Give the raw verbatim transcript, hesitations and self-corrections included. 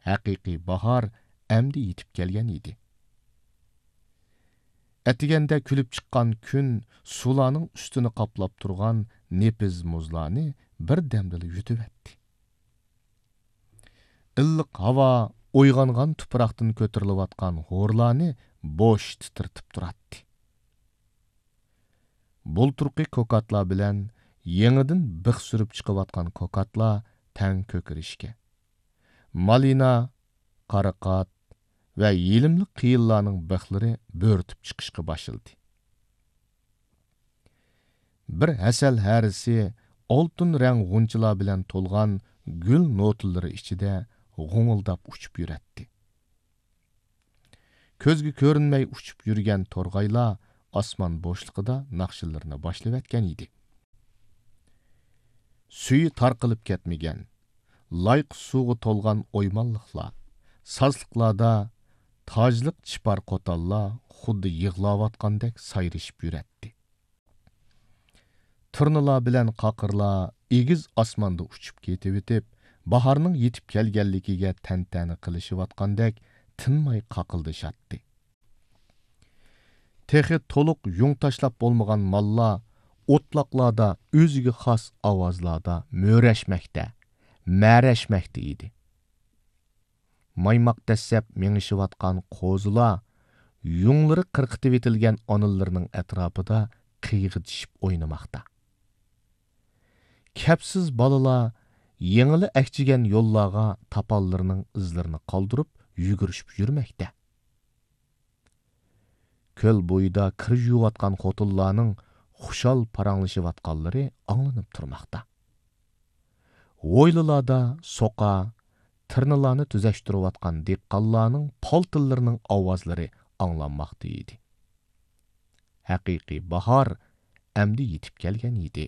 ھەقىقىي باھار ئەمدى يېتىپ كەلگەن ئىدى. ئەتىگەندە كۈلۈپ چىققان كۈن سۇلارنىڭ ئۈستىنى قاپلاپ تۇرغان نېپىز مۇزلارنى بىردەمدىلا يۇتۇۋەتتى. ئىللىق ھاۋا ئويغانغان تۇپراقتىن كۆتۈرۈلۈۋاتقان ھورلارنى بوش تىترىتىپ تۇراتتى. بۇلتۇرقى كوكاتلار بىلەن يېڭىدىن بىخ سۈرۈپ چىقىۋاتقان كوكاتلار تەڭ كۆكىرىشكە، مالىنا، قاراقات ۋە يېلىملىق قېيىنلارنىڭ بىخلىرى بۆرتۈپ چىقىشقا باشلىدى. بىر ھەسەل ھەرىسى ئالتۇن رەڭ غۇنچىلار بىلەن تولغان گۈل نوتىلىرى ئىچىدە غۇڭۇلداپ ئۇچۇپ يۈرەتتى. كۆزگە كۆرۈنمەي ئۇچۇپ يۈرگەن تورغايلار ئاسمان بوشلۇقىدا ناخشىلىرىنى باشلىۋەتكەن ئىدى. سۈيى تارقىلىپ كەتمىگەن، لايقا سۇغا تولغان ئويمانلىقلار، سازلىقلاردا تاجلىق چىپار قوتانلار خۇددى يىغلاۋاتقاندەك سايرىشىپ يۈرەتتى. تۇرنىلار بىلەن قاقىرلار ئېگىز ئاسماندا ئۇچۇپ كېتىۋېتىپ، باھارنىڭ يېتىپ كەلگەنلىكىگە تەنتەنە قىلىشىۋاتقاندەك تىنماي قاقىلدىشاتتى. تېخى تولۇق يۇڭ تاشلاپ بولمىغان ماللار ئوتلاقلاردا ئۆزىگە خاس ئاۋازلاردا مۆرەشمەكتە، مەرەشمەكتە ئىدى. مايماق دەسسەپ مېڭىشىۋاتقان قوزىلار يۇڭلىرى قىرقىتىۋېتىلگەن ئانىلىرىنىڭ ئەتراپىدا قىيغىدىشىپ ئوينىماقتا. كەپسىز بالىلار يېڭىلا ئەكچىگەن يوللارغا تاپانلىرىنىڭ ئىزلىرىنى قالدۇرۇپ يۈگۈرۈشۈپ يۈرمەكتە. كۆل بويىدا كىر يۇيۇۋاتقان خوتۇنلارنىڭ خۇشال پاراڭلىشىۋاتقانلىرى ئاڭلىنىپ تۇرماقتا. ھويلىلاردا سوقا، تىرنىلارنى تۈزەشتۈرۈۋاتقان دېھقانلارنىڭ پالتىلىرىنىڭ ئاۋازلىرى ئاڭلانماقتا ئىدى. ھەقىقىي باھار ئەمدى يېتىپ كەلگەن ئىدى.